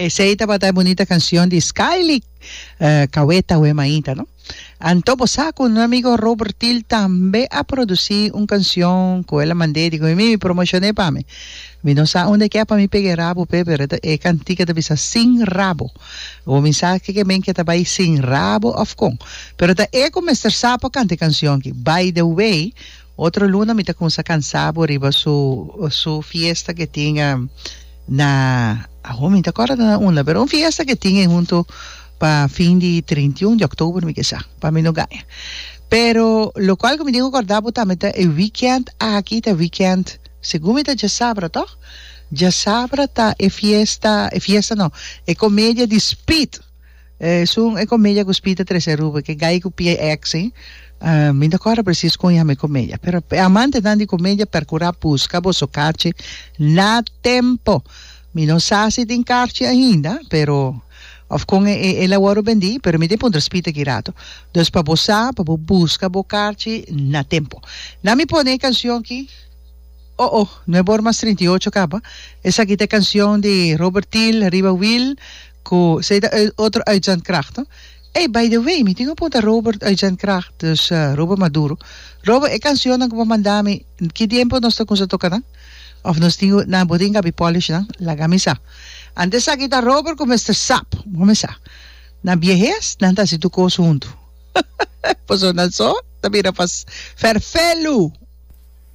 Esey tabata e bunita cancion di Skyly Caweta We Mainta no. Anto bo sa cu nos amigo Robert Thiel tambe a produci un cancion cu el a mand'e di cu mi mi promocion'e pa mi. Mi no sa unda e ke pa mi pega e rabo p'e pero e cantica ta bisa sin rabo. Bo mi sa ke ke men ke ta bay sin rabo of con. Pero ta e cu mester sa pa canta e cancion aki. By the way otro luna mi ta cuminsa cansa bo riba su su fiesta ke tin na awor mi ta corda na unda pero un fiesta ke tin e hunto pa fin di 31 di october mi ke sa pa mi no gaña. Pero locual cu mi tin cu corda bo tambe ta e weekend aki ta weekend segun mi ta djasabra toch? Djasabra ta e fiesta e fiesta no e comedia di Speed. Esun e comedia cu Speed a trece Aruba, ke gai cu pia ex ei. Mi no ta corda precies con yama e comedia, pero e amantenan di comedia percura busca boso karchi na tempo. Mi no sa si tin karchi ainda, pero of con e el a worde bendi, pero mi tin puntra Speed aki rato. Dus pa bo sa, pa bo busca bo karchi na tempo. Na mi pone e cancion aki. Oh oh, nuebe or mas 38 caba. Esaki ta e cancion di Robert Thiel riba Wiel Cu esey ta otro uitzendkracht no. Ey by the way mi tin un punta Robert uitzendkracht dus Robert Maduro. Robert e cancionnan cu bo manda mi ki tiempo nos ta cuminsa toca nan? Of nos tin cu nan bo tin gabi polish nan? Laga mi sa. Ante esaki ta Robert cu Mister Sap bo mi sa. Na biehes nan ta haci tur cos hunto. Pasobra nan so ta bira pas ferfelu.